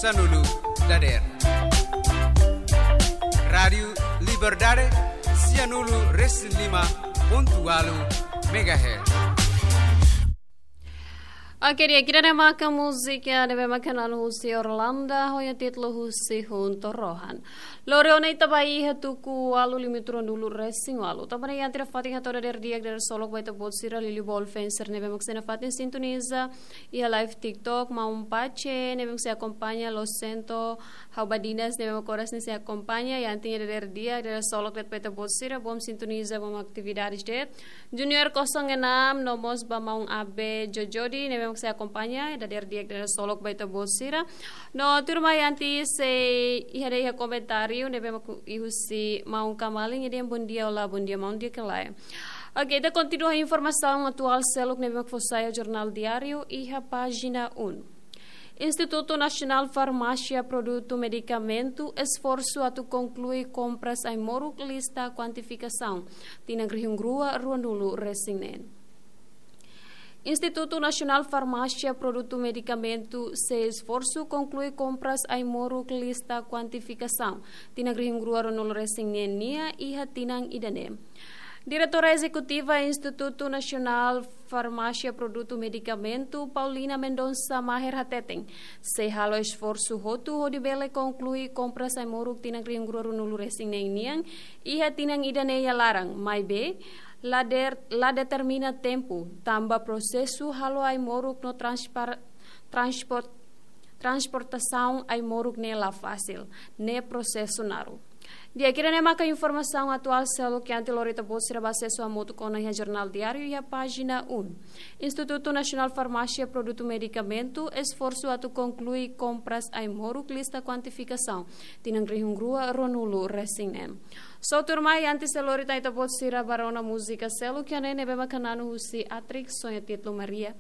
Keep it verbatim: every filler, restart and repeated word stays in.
Sianulu dader. Rádiu Liberdade, sianulu resin lima pontu ualu megahertz. Oke, di'ak, ida-ne'e maka múzika ne'ebé maka hanesan husi Orlando, ho nia títulu husi Hunto Rohan. Lori ona ita ba iha tuku ualu limitu ruanulu resin ualu. Tanba ne'e iha ita-nia fatin hato'o dader di'ak dader solok ba ita-boot sira liuliu ba influencer ne'ebé mak sei nafatin sintoniza iha live TikTok, maun Pache ne'ebé mak sei akompaña, Losento, ha'u ba Dinas ne'ebé mak oras ne'e sei akompaña, iha ita-nia dader di'ak dader solok de'it ba ita-boot sira, bom sintoniza, bom atividades de'it. Junior kosong enam, no mós ba maun Abe Jojodi ne'ebé mak sei akompaña, dader di'ak dader solok ba ita-boot sira. No tuirmai iha ita sei iha de'it iha komentáriu ne'ebé mak iha husi maun Kamalin, nia dehan bondia, olá, bondia maun, di'ak ka lae. Oke, ita kontinua informasaun atuál seluk ne'ebé mak fó sai iha Jornál Diáriu iha pájina um. Institutu Nasionál Farmásia Produtu Medikamentu esforsu atu konklui kompras ai-moruk lista kuantifikasaun tinan rihun rua ruanulu resin neen. Institutu Nasionál Farmásia Produtu Medikamentu sei esforsu konklui kompras ai-moruk lista kuantifikasaun tinan rihun rua ruanulu resin neen nian iha tinan ida-ne'e. Diretora Ezekutiva Institutu Nasionál Farmásia Produtu Medikamentu, Paulina Mendonça Maher hateten, sei halo esforsu hotu hodi bele konklui kompras ai-moruk tinan rihun rua ruanulu resin neen nian iha tinan ida-ne'e iha laran, maibé la der-, la determina tempu, tanba prosesu halo ai-moruk no transpar-, transport-, transportasaun ai-moruk ne'e la fasil, ne'e prosesu naruk. Di'ak, ida-ne'e maka informasaun atuál seluk iha ita-nia lori ita-boot sira ba asesu hamutuk ona iha Jornál Diáriu iha pájina um. Institutu Nasionál Farmásia Produtu Medikamentu esforsu atu konklui kompras ai-moruk lista kuantifikasaun tinan rihun rua ruanulu resin neen. Só tuirmai iha ita sei lori tan ita-boot sira ba rona múzika seluk iha ne'e ne'ebé maka hanesan husi Atrik, ho nia títulu Maria.